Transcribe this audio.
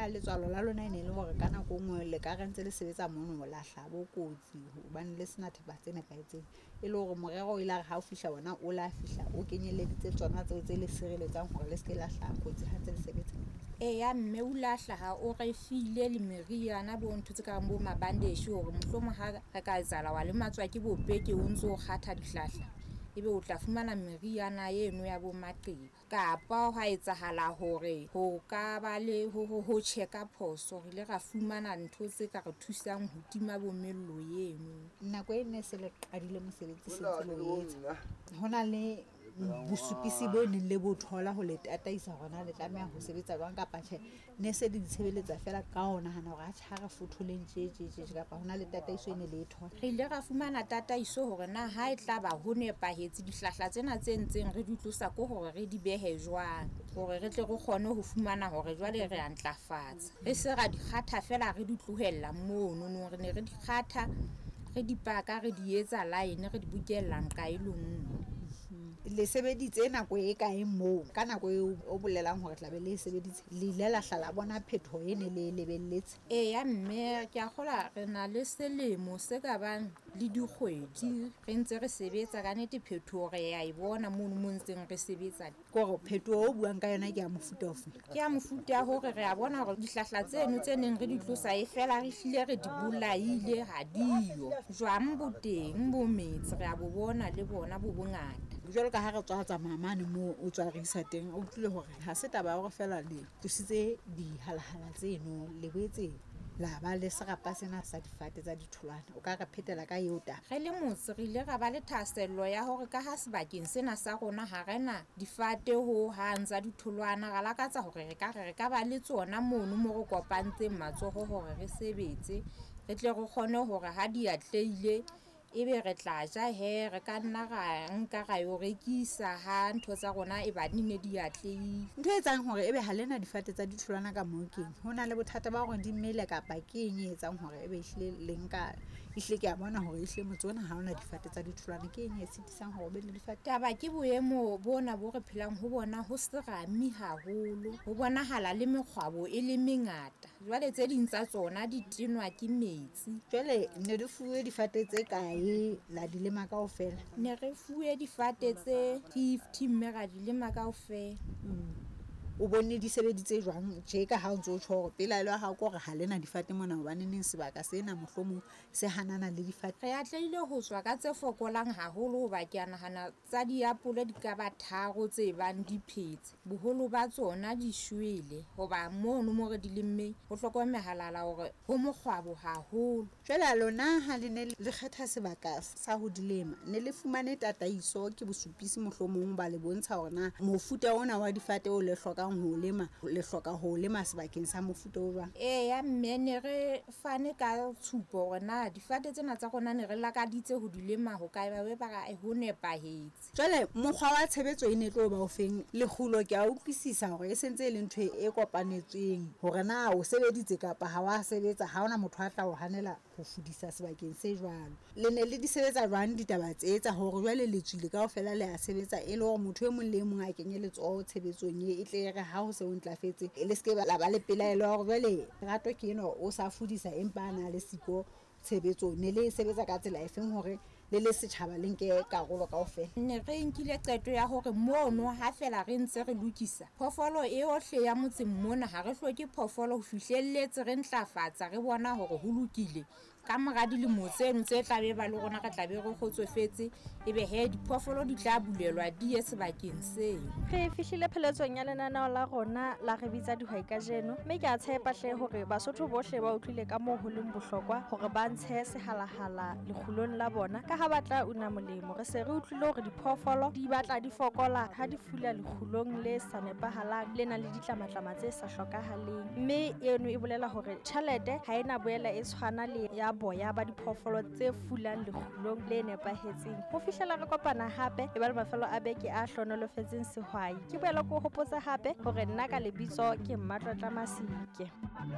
letswalo la lona e ne e le hore ka nako e nngwe le ka re ntse le sebetsa mono la hlaha bo kotsi hobane le sena thepa tse nepahetseng, e le hore morero o ile a re ha o fihla ona o la fihla o kenyeleditse tsona tseo tse le sireletsang hore le se ke la hlaha kotsi ha ntse le sebetsa? Eya mme o la hlaha o re file le meriana bo ntho tse kareng bo mabandeshe hore mohlomong ha re ka etsahala wa lematswa ke bopeke o ntso o kgatha dihlahla, ebe o tla fumana meriana eno ya bo maqeba. Kapa hwa etsahala hore ho ka ba le ho tjhe ka phoso, re ile ra fumana ntho tse ka re thusang ho tima bo mello eno. Nako e ne se le qadile mosebetsi se ntse le o etsa, ho na le bosupisi bo neng le bo thola ho le tataisa hore na le tlameha ho sebetsa jwang kapa tjhe, ne se le ditshebeletsa fela ka ho nahana hore atjhe ha re fotholeng tje tje tje, kapa ho na le tataiso e ne le e thola? Re ile ra fumana tataiso hore na ha e tla ba ho nepahetse dihlahla tsena tse ntseng re di tlosa ko hore re di behe jwang, hore re tle re kgone ho fumana hore jwale re a ntlafatsa. Re se ra di kgatha fela re di tlohella mono no, re ne re di kgatha, re di paka, re di etsa line, re di bokella nqa e le nngwe. Le sebeditse nako e kae moo? Ka nako eo o bolelang hore tla be le e sebeditse, le ile la hla la bona phetoho e ne le e lebelletse? Eya mme, ke a kgolwa re na le selemo se ka bang le dikgwedi re ntse re sebetsa. Ka nnete phetoho re ya e bona mono mo ntseng re sebetsa. Ke hore phetoho o buang ka yona ke ya mofuta ofe? Ke ya mofuta ya hore re a bona hore dihlahla tseno tse neng re di tlosa e fela re hlile re di bolaile, ha diyo. Jwang bo teng bo metse, re a bo bona le bona bo bongata. Jwalo ka ha re tswa tsamaya mane moo o tswa re isa teng, o utlwile hore ha se taba ya hore fela le tlositse dihalahala tseno, le boetse la ba le serapa sena sa difate tsa ditholwana. O ka re phetela ka eo taba? Re le motse re ile ra ba le thahasello ya hore ka ha sebakeng sena sa rona ha re na difate ho hang tsa ditholwana, ra lakatsa hore re ka re re ka ba le tsona mono mo re kopantseng matsoho hore re sebetse, re tle re kgone hore ha di atlehile ebe re tla ja he, re ka nna ra nka ra yo rekisa ha ntho tsa rona e ba di ne di atlehile. Ntho e etsang hore ebe ha lena difate tsa ditholwana ka moo keng? Ho na le bothata ba hore di mele kapa ke eng e etsang hore ebe ehlile le nka, ehlile ke a bona hore ehlile motse ona ha ona difate tsa ditholwana, ke eng e sitisang hore o be le difate? Taba ke boemo bona bo re phelang ho bona, ho serame haholo, ho bonahala le mekgwabo e le mengata. Jwale tse ding tsa tsona di tenwa ke metsi. Jwale ne di fuwe difate tse kae la di lema kaofela? Ne re fuwe difate tse 50 mme ra di lema kaofela. O bone di sebeditse jwang tje ka ha o ntso tjho hore pelaelo ya hao ke hore ha lena difate mona, hobane neng sebaka sena mohlomong se hanana le difate? Re atlehile ho tswa ka tse fokolang haholo hoba ke a nahana tsa diapole di ka ba 3 tse bang di phetse. Boholo ba tsona di shwele hoba mono mo re di lemmeng ho hlokomehala hore ho mokgwabo haholo. Jwale lona ha le ne le kgetha sebaka sa ho di lema, ne le fumane tataiso ke bosupisi mohlomong ba le bontsha hore na mofuta ona wa difate o le hlokang ho lema, le hloka ho lema sebakeng sa mofuta o jwang? Eya mme, ne re fane ka tshupo hore na difate tsena tsa rona ne re lakaditse ho di lema ho kae, ba be ba re ho nepahetse. Jwale mokgwa wa tshebetso e ne tlo ba o feng? Lekgulo ke a utlwisisa hore e sentse e le ntho e kopanetsweng hore na o sebeditse kapa ha wa sebetsa, ha hona motho a tla o hanela ho fudisa sebakeng se jwalo. Le ne le di sebetsa jwang ditaba tse tsa hore jwale le tswile kaofela le a sebetsa, e le hore motho e mong le e mong a kenye letsoho tshebetsong e tle re ha ho se ho ntlafetse le se ke la ba le pelaelo ya hore jwale Rato ke enwa o sa fudisa empa a na le siko tshebetsong? Ne le sebetsa ka tsela efeng hore le le setjhaba le nke karolo kaofela? Ne re nkile qeto ya hore mono ha fela re ntse re lokisa phoofolo eohle ya motseng mona, ha re hloke phoofolo ho fihlelletse re ntlafatsa, re bona hore ho lokile. Ka mora dilemo tseno tse tla be ba le rona re tla be re kgotsofetse, ebe he diphoofolo di tla bulelwa di ye sebakeng seo. Re fihlile pheletsong ya lenaneo la rona la Re Bitsa Dihwai kajeno, mme ke a tshepa hle hore Basotho bohle ba utlwile ka moo ho leng bohlokwa hore ba ntshe sehalahala lekgulong la bona ka ha ba tla una molemo. Re se re utlwile hore diphoofolo di batla di fokola ha di fula lekgulong le sa nepahalang, le nang le ditlamatlama tse sa hlokahaleng, mme eno e bolela hore tjhelete ha ena boela e tshwana le ya boya ba diphoofolo tse fulang lekgulong le nepahetseng. Ho fihlela re kopana hape, e ba le mafelo a beke a hlohonolofetseng sehwai. Ke boela ke o hopotsa hape hore nna ka lebitso ke Mmatlotla Masike.